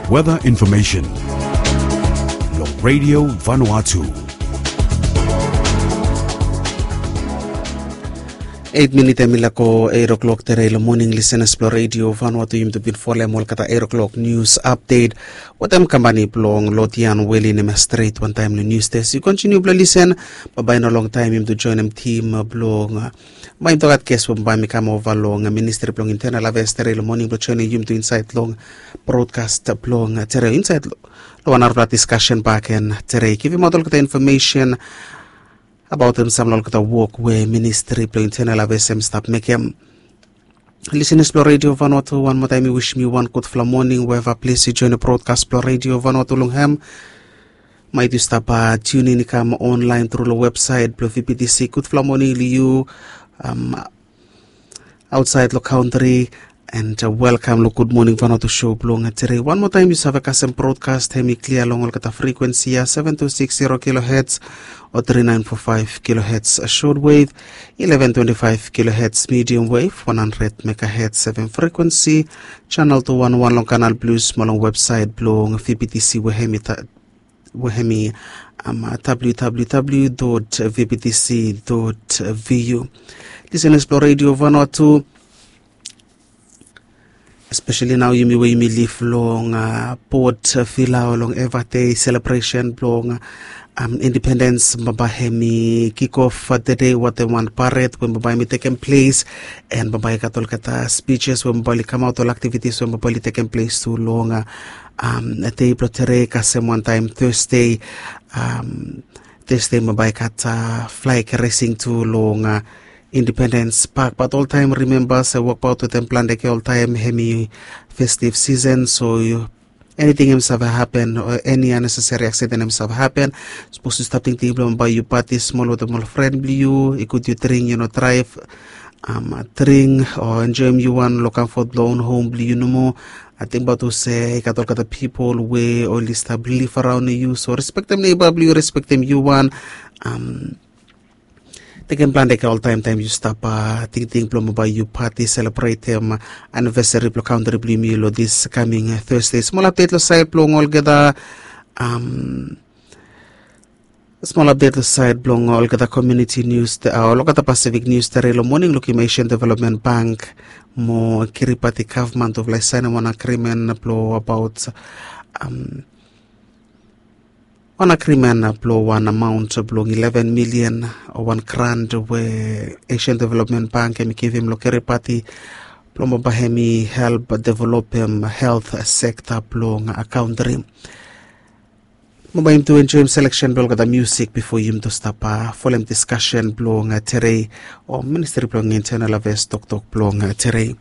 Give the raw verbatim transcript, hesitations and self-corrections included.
Weather information long Radio Vanuatu. Eit minit em i lako eit o'klok tere long moning, lisenas blong Radio Vanuatu, yumi tu bin folem olgeta eit o'klok nius apdet wetem kampani blong Lotian Weli nem stret wantaem long nius desk. Yu kontiniu blong lisen, bambae no longtaem yumi tu joenem tim blong, bambae yumi tu gat ges we bambae mi kam ova long ministri blong intenal aves tere long moning blong joenem yumi tu insaed long brodkas blong tere insaed long wan narafala diskasen bak gen tere, givimaot olgeta infomesen abaotem sam long olgeta wok we ministri blong intenal aves em stap mekem. Lisenas blong Radio Vanuatu, wan moa taem mi wisim yu wan gudfala moning weva ples yu joenem brodkas blong Radio Vanuatu long hem. Maet yu stap tiunin i kam onlaen tru long websaet blong V B T C, gudfala moning long yu aotsaed long kantri. And welkam long Gud Moning Vanuatu show blong tere. Wan moa taem yu save kasem brodkas hem i klia long olgeta frikwensi ya, seven two six zero kilohertz o three nine four five kilohertz shortwave, eleven twenty-five kilohertz medium wave, one hundred megahertz seven frequency, channel two one one long Canal Plus mo long websaet blong V B T C we hem i we hem i www dot vbtc dot vu. Lisenas blong Radio Vanuatu, espeseli nao yumi we yumi liv long Port Vila o long Eva Dei selebresen blong indipendens, bambae hem i kikof tede wetem wan pared we bambae hem i tekem ples. And bambae i gat olgeta spijis we bambae oli kamaot, ol aktivitis we bambae oli tekem ples tu long dei blong tere kasem wantaem Thursday. Thursday bambae i gat flag raising tu long Independens Pak, bat oltaem rimemba se wokbaot wetem plante ge oltaem hem i festiv sisen. So eniting hem i save hapen o eni aneseseri aksiden hem i save hapen. Sapos yu stap tingting blong bae yu pati smol wetem ol fren blong yu, i gud yu dring, yu no draev. Dring o enjoem yu wan long kamfot blong own hom blong yu nomo. Ating baot olse i gat olgeta pipol we oli stap liv araon yu, so respektem neba blong yu, respektem yu wan. Tekem plante ge oltaem taem yu stap tingting blong bae yu pati selebretem anivesari blong kantri blong yumi long dis kaming Thursday. Smol apdet long saed blong olgeta smol apdet long saed blong olgeta komuniti nius, olgeta Pasifik nius tere long moning. Lukim Asian Development Bank mo Kiribati gavman tufala i saenem wan agrimen blong abaot wan agrimen blong wan amaon blong eleven milian, wan grant we Asian Development Bank hem i givim long Kiribati blong bae hem i help developem helt sekta blong kantri. Mo bae yumi tu enjoem seleksen blong olgeta musik bifo yumi tu stap folem diskasen blong tere o ministri blong intenal aves toktok blong tere.